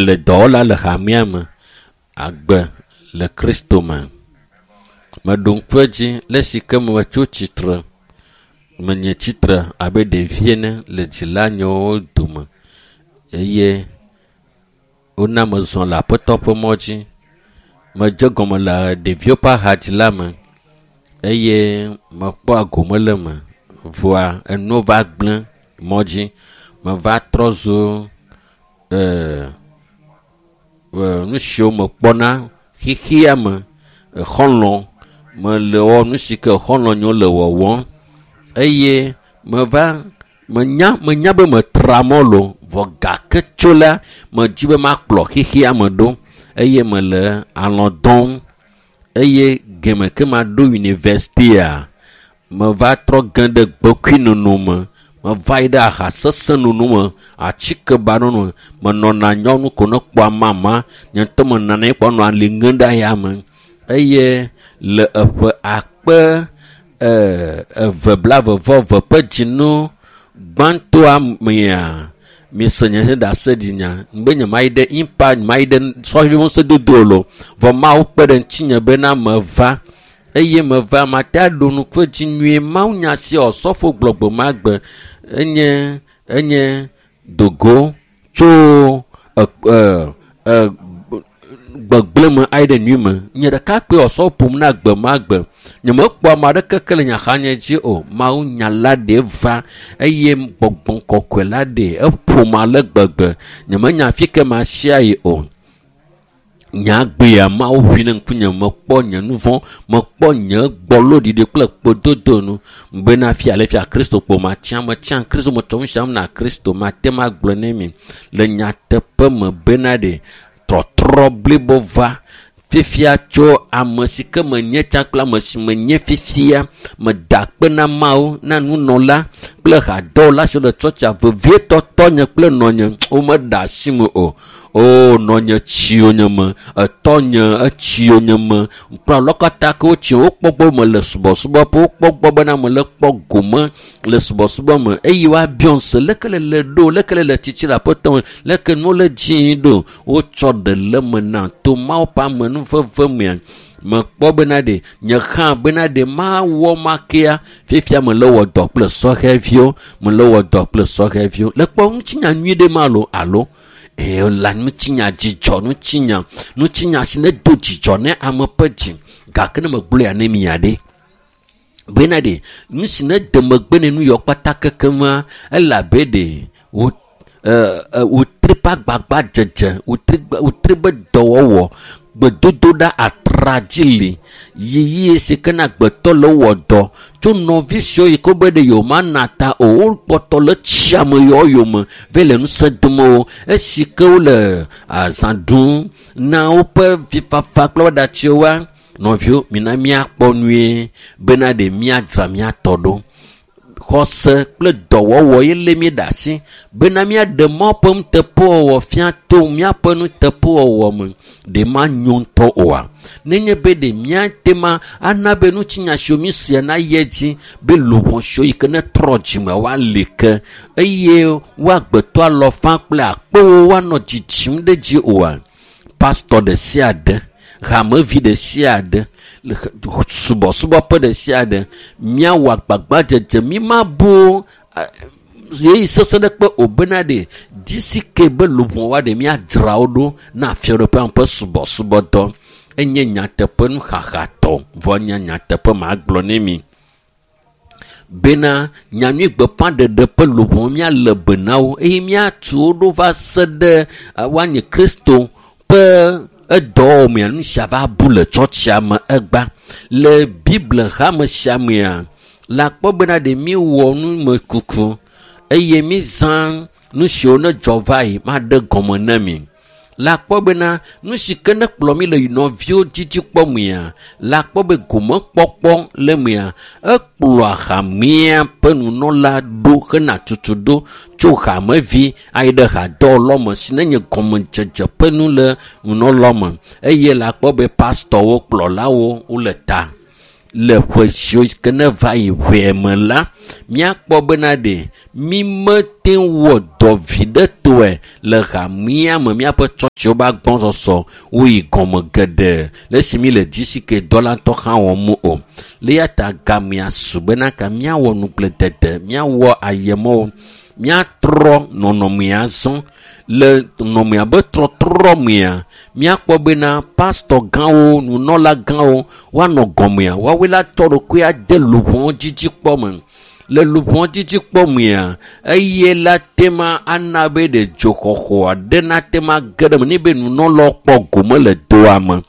Mele dɔwɔla le hamea me. Agbe le Kristo me. Meɖo ŋku edzi le esi ke metso tsitre. Menye tsitre abe ɖevi ene le dzilanyewo dome eye wona mezɔ le Aƒetɔ ƒe mɔ dzi. Medze gɔme le ɖeviwo ƒe ahadzi la me eye mekpɔa gome le eme. Vɔa enuwo va gblẽ mɔ dzi. Meva trɔ zu ee nu siwo mekpɔna xexea me exɔlɔ̃ mele wɔ nu si ke xɔlɔ̃nyewo le wɔwɔm eye meva menya menya be metra mɔ loo vɔ gake tso la medzi be makplɔ xexea me ɖo eye mele alɔ̃ dɔm eye geme ke maɖo yunivɛsitia meva trɔ ge ɖe gbekuinono me meva yi ɖe aha sesẽ nono me atike ba nono me menɔna nyɔnu ko ne kpɔa mama nye ŋutɔ menɔna anyi kpɔ nɔa ali ŋem ɖe ayame eye le eƒe akpe eve blaeve vɔ eve ƒe dzinu gbãtɔa mea mise nye ɖaseɖinya be nyemayi ɖe impact nyemayi ɖe sɔhɛ ŋusẽdodo o loo vɔ Mawu kpe ɖe ŋutinye bena meva eye meva mate aɖo ŋku edzi nyuie mawunya sia osɔfo gblɔ gbe ma gbe enye enye dogo tso gbegblẽ me ayi ɖe nyui me. Nye ɖeka kpɔe osɔfo ƒom na gbe ma gbe. Nyemekpɔ ame aɖeke ke le nye axanye dzi o. Mawunya la ɖe va eye gbɔgbɔ kɔkɔe la ɖe eƒom ale gbegbe. Nyemenya afi ke masia yi o. Nyagbea Mawu ʋui ɖe ŋkunye mekpɔ nye nu vɔ̃, mekpɔ nye gbɔloɖiɖi kple kpododo nu bena fia le fia Kristo kpo matsã metsã Kristo metsɔ nu siam na Kristo mate ŋu agblɔ ne mi le nyateƒe me bena ɖe trɔtrɔ blibo va fifia tso ame si ke menye tsã kple ame si menye fifia meda akpe na Mawu na nunɔla kple hadɔwɔla siwo le tsɔtsia vevietɔ tɔnye kple nɔnye womeɖe asi me o. O nɔnye tsi yonye me, etɔnye etsi yonye me, kple alɔ katã ke wotsi wokpɔ gbɔ mele subɔsubɔ ƒe wokpɔ gbɔ bena mele kpɔ gome le subɔsubɔ me eye woabiɔ se leke le le ɖo leke le le tsitsi le aƒetɔ me leke nuwo le dzii ɖo wotsɔ ɖe le me na to Mawu ƒe amenuveve mea mekpɔ bena ɖe nye hã bena ɖe mawɔ ma kea fifia mele wɔ dɔ kple sɔhɛviwo mele wɔ dɔ kple sɔhɛviwo le kpɔ ŋutinya nyui ɖe ma lo alo la ŋutinya dzidzɔ ŋutinya ŋutinya si ne do dzidzɔ ne ame ƒe dzi gake ne megblɔe ya ne mia ɖe bena ɖe nu si ne de megbe ne nu yɔ kpata kekema elabe ɖe wo wòtre ƒe agbagba dzedze wòtre be dɔwɔwɔ gbedodoɖa atradzi li yiyi si ke na agbetɔ le wɔ dɔ tso nɔvi siwo yi ke wobe ɖe yewomana ta o wokpɔtɔ le tsia me yɔ yome va le ŋusẽ dom wo esi ke wole azã ɖum na woƒe vifafa kple woƒe ɖatsiwoa nɔviwo mina míakpɔ nyuie bena ɖe míadzra míatɔ ɖo. Xɔse kple dɔwɔwɔ ye lé mí ɖe asi bena míaɖe Mawu ƒe nuteƒewɔwɔ fia to míaƒe nuteƒewɔwɔ me. Ɖe manyo ŋutɔ oa? Nenye be ɖe míate ma ana be ŋutinya siwo míesea nayi edzi be luʋɔ siwo yi ke netrɔ dzime woali ke eye woagbetɔ alɔfa kple akpewo woanɔ dzidzim ɖe dzi oa? Pastɔ ɖe sia ɖe, hamevi ɖe sia ɖe, subɔsubɔƒe ɖe sia ɖe, míawɔ agbagbadzedze mímabu ɣeyiɣi sesẽ ɖe kpe o bena ɖe dzi si ke be luʋɔ woaɖe míadzra wo ɖo na fiaɖuƒea ƒe subɔsubɔdɔ. Enye nyateƒe nuxaxatɔ vɔ nye nyateƒe magblɔ ne mi bena nyanyui gbeƒãɖeɖe ƒe luʋɔ míale be na wo eye míatu wo ɖo va se ɖe woanye Kristo ƒe edɔwɔwɔ mea nu sia va bu le tsɔtsia me egba. Le Bible hame sia mea le akpɔ bena ɖe míwɔ numekuku eye mízã nu siwo ne dzɔ va yi maɖe gɔme ne mi. Le akpɔ bena nu si ke ne kplɔ mi le nɔviwo dzidzi kpɔ mea le akpɔ be gomekpɔkpɔ le mea ekplɔa hamea ƒe nunɔla ɖo hena tutu ɖo tso hamevi ayi ɖe hadɔwɔlɔ me si ne nye gɔmedzedze ƒe nu le nunɔlɔ me eye le akpɔ be pastɔwo kplɔlawo wole ta. Le ƒe siwo ke ne va yi ʋɛe me la, míakpɔ bena ɖe mi mete wɔ dɔ viɖetɔe le hamea me. Míaƒe tsɔtsiwo be agbɔsɔsɔ woyi gɔme geɖe le esi mi le GCK dɔ la ŋutɔ hã wɔm o. Le eya ta gamea su bena ka míawɔ nugbledede, míawɔ ayemɔwo, míatrɔ nɔnɔmea zɔ. Le nɔnɔmea be trɔtrɔ mea, míakpɔ bena pastɔ gãwo, nunɔla gãwo woanɔ gɔmea, woawoe la tɔ ɖokui ade luʋɔ dzidzikpɔ me. Le luʋɔ dzidzikpɔ mea, eye la tema ana be ɖe dzoxɔxɔ aɖe nate ma ge ɖe eme ne be nunɔlawo kpɔ gome le doa me.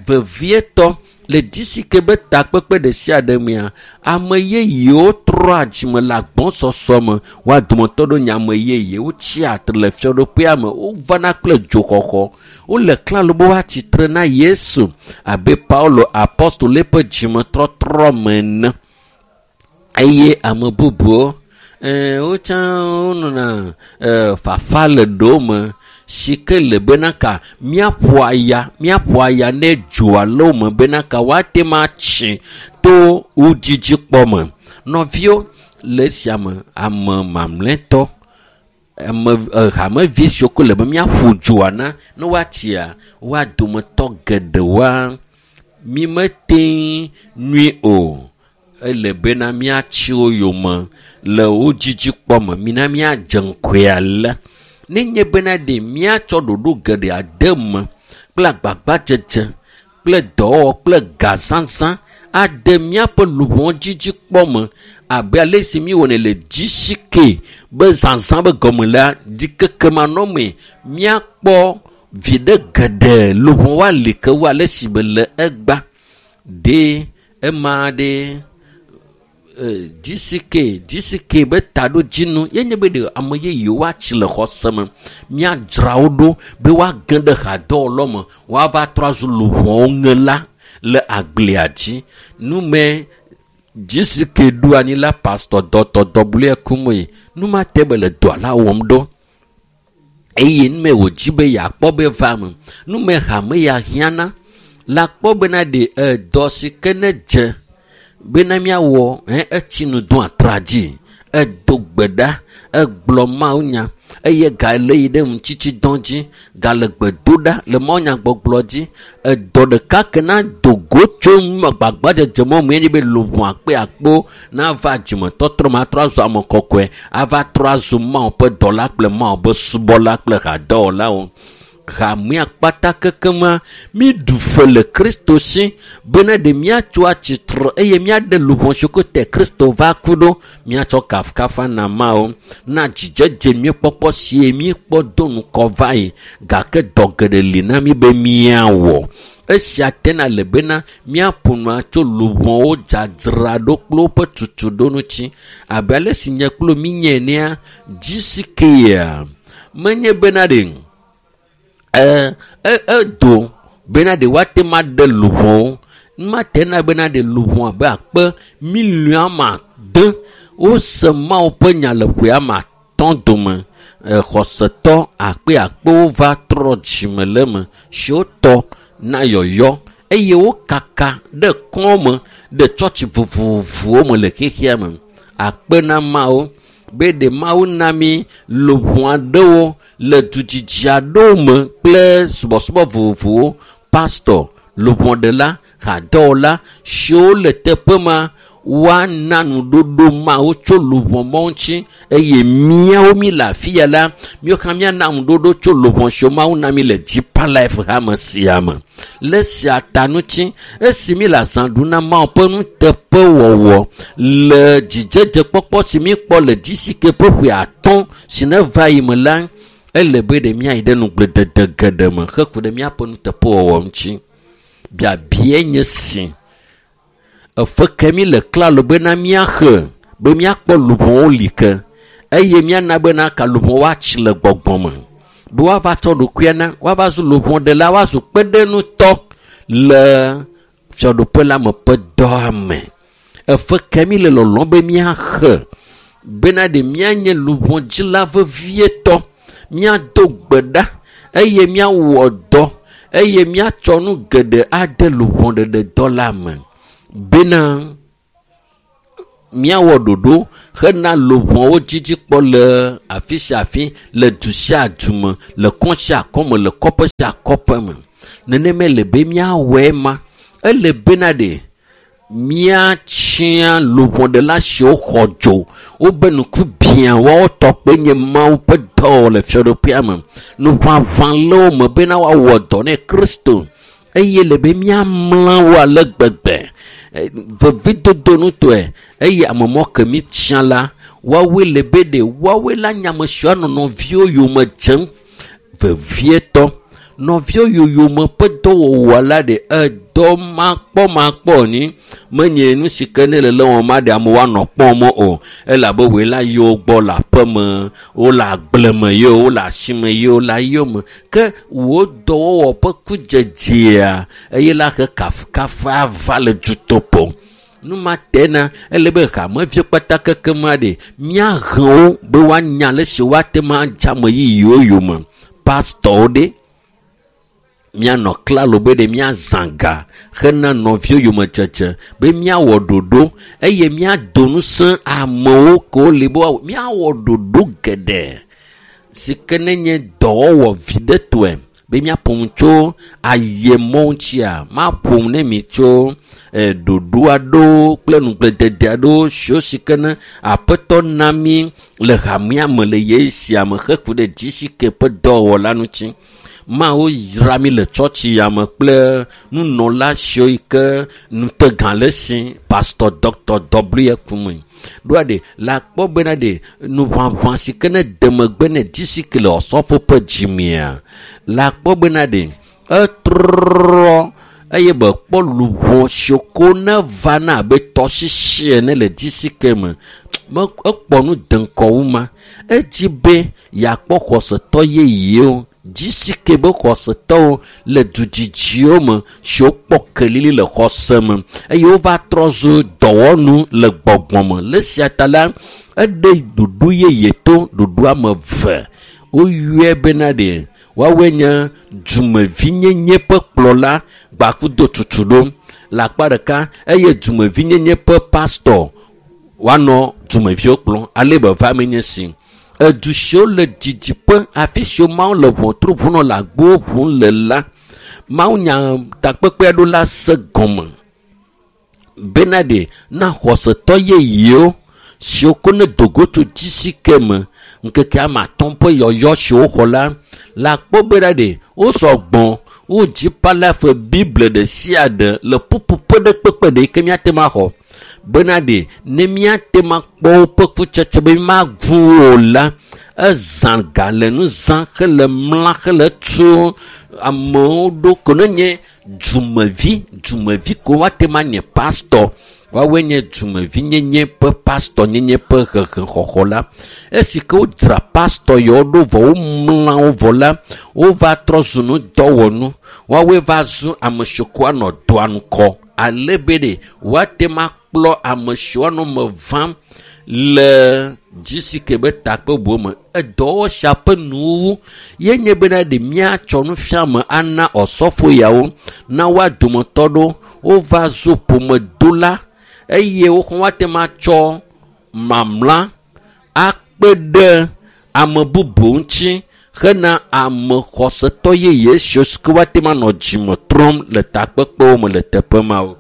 Vevietɔ le GCK be takpekpe ɖe sia ɖe mea, ame yeyewo trɔa dzime le agbɔsɔsɔ me. Woa dometɔ ɖewo nye ame yeyewo tsia atre le fiaɖuƒea me. Wovana kple dzoxɔxɔ. Wole klalo be woatsitre na Yesu abe Paulo apostolo ƒe dzimetɔtrɔ me ene. Eye ame bubuwo wotsã wonɔna fafa le ɖewo me si ke le bena ka míaƒo aya ne dzo alo me bena ka woate ma tsi to wo dzidzikpɔ me. Nɔviwo, le esia me, ame mamlɛtɔ, ame hamevi siwo ko le be míaƒo dzoa na ne woatsia, woa dometɔ geɖewoa mi mete nui o. Ele bena míatsi wo yome le wo dzidzikpɔ me. Mina míadze ŋkɔe ale. Nenye bena ɖe míatsɔ ɖoɖo geɖe ade me kple agbagbadzedze kple dɔwɔwɔ kple gazazã ade míaƒe luʋɔ dzidzikpɔ me abe ale si míwɔnɛ le GCK be zazã be gɔme la, ɖikekemanɔmee míakpɔ viɖe geɖe luʋɔ woali ke wu ale si be le egba. Ɖe ema ɖe GCK be taɖodzinu ye nye be ɖe ame yeyewo woatsi le xɔse me, míadzra wo ɖo be woage ɖe hadɔwɔlɔ me, woava trɔ azu luʋɔwo ŋela le agblea dzi. Nume GCK ɖo anyi la, pastor dɔtɔ dɔbluɛ kumoe, numa te be le dɔa la wɔm ɖo. Eye nume wòdzi be yeakpɔ be va me, nume hame ya hiãna la kpɔ bena ɖe edɔ si ke ne dze bena míawɔ etsi nu do atra dzi, edo gbe ɖa, egblɔ mawunya eye gale yi ɖe ŋutsitsidɔ dzi, gale gbe do ɖa le mawunyagbɔgblɔ dzi. Edɔ ɖeka ke na do go tso gbagbadzedze mɔ me nye be luʋɔ akpe akpo nava dzimetɔtrɔ me atrɔ azu ame kɔkɔe, ava trɔ azu Mawu ƒe dɔla kple Mawu ƒe subɔla kple hadɔwɔlawo. Hamea kpata kekema míɖu fe le Kristo si bena ɖe míatso atsitre eye míaɖe luʋɔ siwo ke te Kristo va ku ɖo, míatsɔ kafukafu na Mawu na dzidzedze míekpɔkpɔ sie míekpɔ do ŋkɔ va yi, gake dɔ geɖe li na mí be míawɔ. Esia tena le bena míaƒo nua tso luʋɔwo dzadzra ɖo kple woƒe tutuɖo ŋuti abe ale si nye kple mí nye enea, GCK-a menye bena ɖe edo bena ɖe woate ma ɖe luʋɔwo. Mate na bena ɖe luʋɔ abe akpe miliɔn ame ade wose Mawu ƒe nya le ƒe ame atɔ̃ dome. Xɔsetɔ akpe akpewo va trɔ dzime le eme siwo tɔ na yɔyɔ eye wokaka ɖe kɔ̃ me ɖe tsɔtsi vovovowo me le xexea me. Akpe na Mawu be ɖe Mawu na mí luʋɔ aɖewo le dudzidzi aɖewo me kple subɔsubɔ vovovowo, pastor, luʋɔɖela, hadɔwɔla siwo le teƒe ma woana nuɖoɖo Mawu tso luʋɔ mɔ ŋuti eye míawo mí le afi ya la, míawo hã míana nuɖoɖo tso luʋɔ siwo Mawu na mí le Deeper Life hame sia me. Le esia ta ŋuti, esi mí le azã ɖum na Mawu ƒe nuteƒewɔwɔ le dzidzedzekpɔkpɔ si míekpɔ le GCK ƒe ƒe atɔ̃ si ne va yi me la, ele be ɖe míayi ɖe nugbledede geɖe me heku ɖe míaƒe nuteƒewɔwɔ ŋuti. Biabia nye si efe ke mí le klalo bena míaxe be míakpɔ luʋɔwo li ke eye míana bena ka luʋɔ woatsi le gbɔgbɔ me be woava tsɔ ɖokuia na, woava zu luʋɔɖela, woazu kpeɖeŋutɔ le fiaɖuƒe la me ƒe dɔa me. Efe ke mí le lɔlɔ̃m be míaxe bena ɖe míanye luʋɔdzila vevietɔ, míado gbe ɖa eye míawɔ dɔ eye míatsɔ nu geɖe ade luʋɔɖeɖedɔ la me. Bena míawɔ ɖoɖo hena luʋɔwo dzidzikpɔ le afi sia afi, le du sia du me, le kɔ sia kɔ me, le kɔƒe sia kɔƒe me. Nenema le be míawɔe ma. Ele bena ɖe míatsia luʋɔɖela siwo xɔ dzo, wobe ŋku biã woawo tɔ kpe nye Mawu ƒe dɔwɔwɔ le fiaɖuƒea me. Nuʋaʋã le wo me bena woawɔ dɔ ne Kristo eye le be míamla wo ale gbegbe vevidodo nutɔe eye ame mɔ ke mi tsia la woawoe le be ɖe woawoe la nye ame siwo anɔ nɔviwo yome dzem vevietɔ. Nɔviwo yoyome ƒe dɔwɔwɔ la ɖe edɔ makpɔmakpɔ ni menye nu si ke ne le le wɔm aɖe amewo anɔ kpɔm o elabe woe la yi wo gbɔ le aƒeme, wole agble me ye wole asime ye wole ayo me ke wo dɔwɔwɔ ƒe kudzedzea eye la he kafukafu ava le dutoƒo. Nu ma tena ele be hameviwo kpata kekem aɖe míahe wo be woanya ale si woate ŋu adze ame yeyewo yome. Pastɔwo ɖe míanɔ klalo be ɖe míazã ga hena nɔviwo yomedzedze be míawɔ ɖoɖo eye míado ŋusẽ amewo ke woli be woawɔ míawɔ ɖoɖo geɖe si ke nenye dɔwɔwɔ viɖetɔe be míaƒo nu tso ayemɔ ŋutia maƒo nu ne mi tso ɖoɖo aɖewo kple nugbledede aɖewo siwo si ke ne aƒetɔ na mí le hamea me le ɣeyiɣi sia me heku ɖe GCK ƒe dɔwɔwɔ la ŋuti. Mawu yra mí le tsɔtsi ya me kple nunɔla siwo yi ke ŋutegã le esi Pastor Dr. W. Kume. Ɖoa ɖe le akpɔ bena ɖe nuʋaʋã si ke ne de megbe ne GCK le Osɔfo ƒe dzimea le akpɔ bena ɖe etrɔ eye be kpɔ luʋɔ siwo ko ne vana abe tɔsisi ene le GCK me me ekpɔ nu de ŋkɔ wu ma. Edzi be yeakpɔ xɔsetɔ yeyewo GCK be xɔsetɔwo le dudzidziwo me siwo kpɔ kelili le xɔse me eye wova trɔ zu dɔwɔnu le gbɔgbɔ me. Le esia ta la, eɖe ɖoɖo yeye to ɖoɖo ame eve. Woyɔe bena ɖe woawoe nye dumevinyenye ƒe kplɔla gbakudo tutu ɖo le akpa ɖeka eye dumevinyenye ƒe pastɔ woanɔ dumeviwo kplɔm ale be va me nye si. Edu siwo le didiƒe afi siwo Mawu le ʋɔtru ʋum nɔ le agbowo ʋum le la, Mawu nya takpekpe aɖewo la se gɔme bena ɖe na xɔsetɔ yeyewo siwo ko ne dogo tso GCK me ŋkeke ame atɔ̃ ƒe yɔyɔ siwo xɔ la le akpɔ bena ɖe wosɔ gbɔ wodzi palafe Bible ɖe sia ɖe le ƒuƒoƒe ɖe kpekpe ɖe yi ke míate ŋu axɔ bena ɖe ne míate ŋu akpɔ woƒe kutsetse be mímagu o la ezã ga le nu zã hele mla hele tu amewo ɖo ko ne nye dumevi dumevi ko woate ŋu anye pastɔ woawoe nye dumevinyenye ƒe pastɔnyenye ƒe hehexɔxɔ la. Esi ke wodzra pastɔ yawo ɖo vɔ womla wo vɔ la wova trɔ zu nudɔwɔnu woawoe va zu ame siwo ko anɔ dɔa ŋkɔ ale be ɖe woate ŋu akplɔ ame siwo anɔ me vam le GCK be takpebuwo me. Edɔwɔwɔ sia ƒe nuwuwu ye nye bena ɖe míatsɔ nufiame ana Osɔfo yawo na woa dometɔ ɖewo wova zu ƒomedola eye woxɔ woate ŋu atsɔ mamla akpe ɖe ame bubu ŋuti hena ame xɔsetɔ yeye siwo si ke woate ŋu anɔ dzime trɔm le takpekpewo me le teƒe mawo.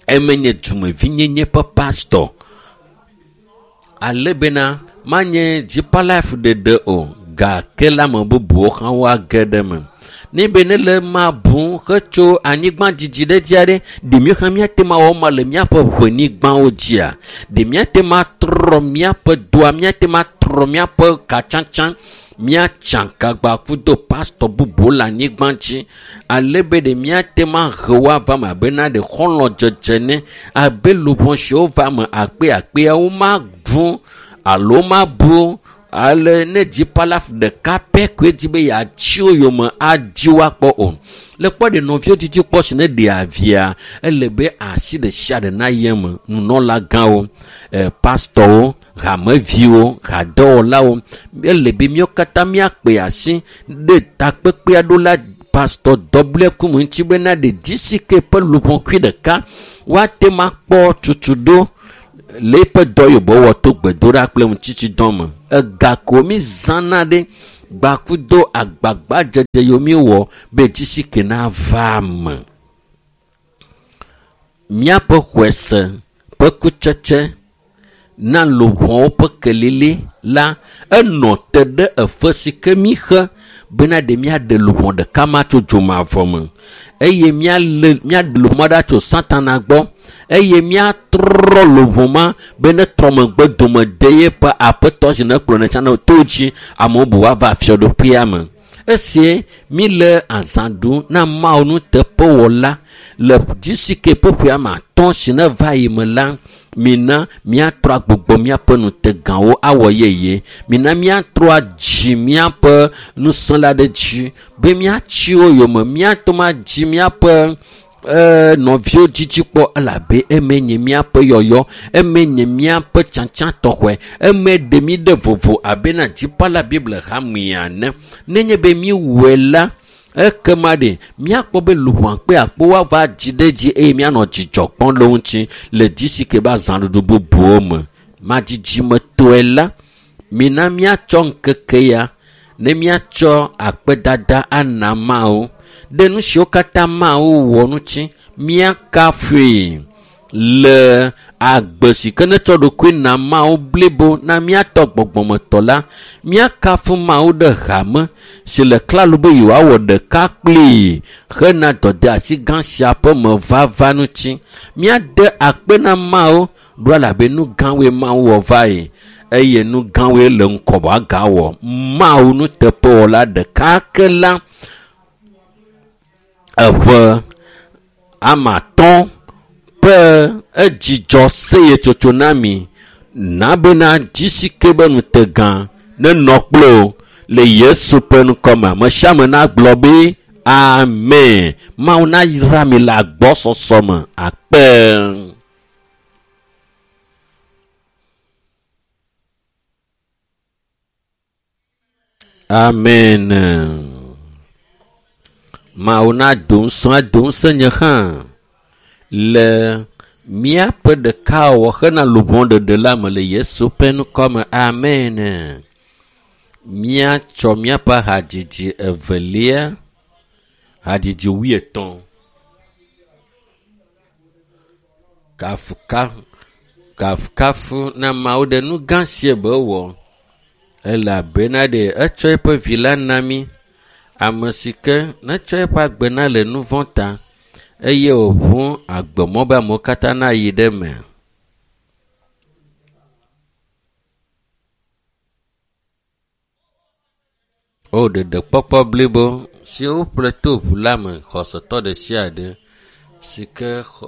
Eme nye dumevinyenye ƒe pastɔ ale bena manye Deeper Life ɖeɖe o gake le ame bubuwo hã woage ɖe eme. Ne be ne le ma bu hetso anyigba dzidzi ɖe dzi aɖe, ɖe míawo hã míate ŋu awɔ ma le míaƒe ʋenyigbawo dzia? Ɖe míate ŋu atrɔ míaƒe doa, míate ŋu atrɔ míaƒe katsatsa, míatsa kagba kudo pastɔ bubuwo le anyigba dzi ale be ɖe míate ŋu ahe wo ava me abe na ɖe xɔlɔ̃dzedze ne abe luʋɔ siwo va me akpeakpeawo magu alo mabu ale ne Deeper Life ɖeka pɛ koe di be yeatsi wo yome adi wo akpɔ o. Le kpɔ ɖe nɔviwo didi kpɔ si ne ɖe avia ele be asi ɖe sia ɖe nayi eme nunɔlagãwo, pastɔwo, hameviwo, hadɔwɔlawo ele be míawo katã míakpe asi ɖe takpekpe aɖewo la Pastor W. Kumu ŋuti bena ɖe GCK ƒe luʋɔkui ɖeka woate ŋu akpɔ tutuɖo le eƒe dɔ yibɔ wɔ to gbedoɖa kple ŋutitsidɔ me. Ega ko mi zãna ɖe gbakudo agbagbadzedze yiwo mi wɔ be GCK nava me. Míaƒe xɔese ƒe kutsetse na luʋɔwo ƒe kelili la enɔ te ɖe efe si ke mi xe bena ɖe míaɖe luʋɔ ɖeka ma tso dzomavɔ me eye míalé míaɖe luʋɔ ma ɖa tso Satana gbɔ eye míatrɔ luʋɔ ma be ne trɔ megbe dome de yeƒe aƒetɔ si ne kplɔ ne tsã to dzi amewo bu woava fiaɖuƒea me. Esie mi le azã ɖum na Mawu nuteƒewɔla le GCK ƒe ƒe ame atɔ̃ si ne va yi me la, mina míatrɔ agbugbɔ míaƒe nutegawo awɔ yeye. Mina míatrɔ adzi míaƒe nusẽ la ɖe dzi be míatsi wo yome, míate ŋu adzi míaƒe nɔviwo dzidzi kpɔ elabe eme nye míaƒe yɔyɔ, eme nye míaƒe tsatsa tɔxɔe, eme ɖe mí ɖe vovo abe na dzipala Biblia hamea ene. Nenye be míwɔe la, ekema ɖe míakpɔ be luʋɔ akpe akpe woava dzi ɖe dzi eye míanɔ dzidzɔ kpɔm ɖe wo ŋuti le GCK be azãɖuɖu bubuwo me. Madzidzimetɔe la, mina míatsɔ ŋkeke ya ne míatsɔ akpedada ana Mawu ɖe nu siwo katã Mawu wɔ ŋuti míakafui le agbe si ke netsɔ ɖokui na Mawu blibo na míatɔ gbɔgbɔmetɔ la, míakafu Mawu ɖe hame si le klalo be yewoawɔ ɖeka kplii hena dɔdeasi gã sia ƒe mevava ŋuti. Míade akpe na Mawu ɖo elabe nu gãwoe Mawu wɔ va yi eye nu gãwoe le ŋkɔ wòagawɔ. Mawu nuteƒewɔla ɖeka ke la eƒe ame atɔ̃ ƒe edzidzɔ seyetsotso na mi na bena GCK be nutegã nenɔ kple wo le Yesu ƒe ŋkɔme. Ame sia ame nagblɔ be amen. Mawu nayra mi le agbɔsɔsɔ me. Akpe. Amen. Mawu nado ŋusẽ ado ŋusẽ nye hã le míaƒe ɖekawɔwɔ hena luʋɔ ɖeɖe la me le Yesu ƒe ŋkɔme. Amen. Míatsɔ míaƒe hadzidzi evelia, hadzidzi wuietɔ̃. Kafukafu na Mawu ɖe nu gã sie be wɔ elabena ɖe etsɔ eƒe vi la na mí, ame si ke netsɔ eƒe agbe na le nu vɔ̃ ta eye wòʋu agbemɔ be amewo katã nayi ɖe eme. O ɖeɖekpɔkpɔ blibo si woƒle to ʋu la me xɔsetɔ ɖe sia ɖe si ke xɔ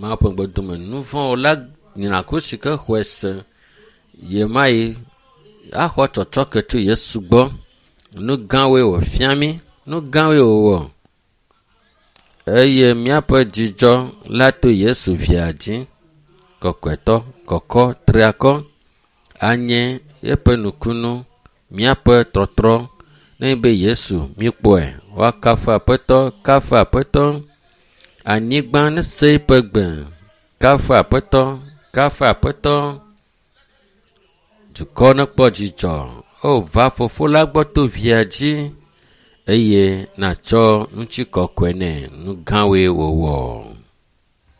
Mawu ƒe ŋugbedome nu vɔ̃ la nyina ko si ke xɔe se yemayi axɔ tsɔtsɔke tso Yesu gbɔ. Nu gãwoe wòfia mí, nu gãwoe wòwɔ eye míaƒe dzidzɔ la to Yesu via dzi. Kɔkɔetɔ, kɔkɔ, triakɔ anye eƒe nukunu, míaƒe tɔtrɔ ne be Yesu míkpɔe. Woakafu Aƒetɔ, kafu Aƒetɔ. Anyigba nese eƒe gbe. Kafu Aƒetɔ, kafu Aƒetɔ. Dukɔ nekpɔ dzidzɔ. O va Fofo la gbɔ to via dzi eye natsɔ ŋutikɔkɔe nɛ. Nu gãwoe wòwɔ.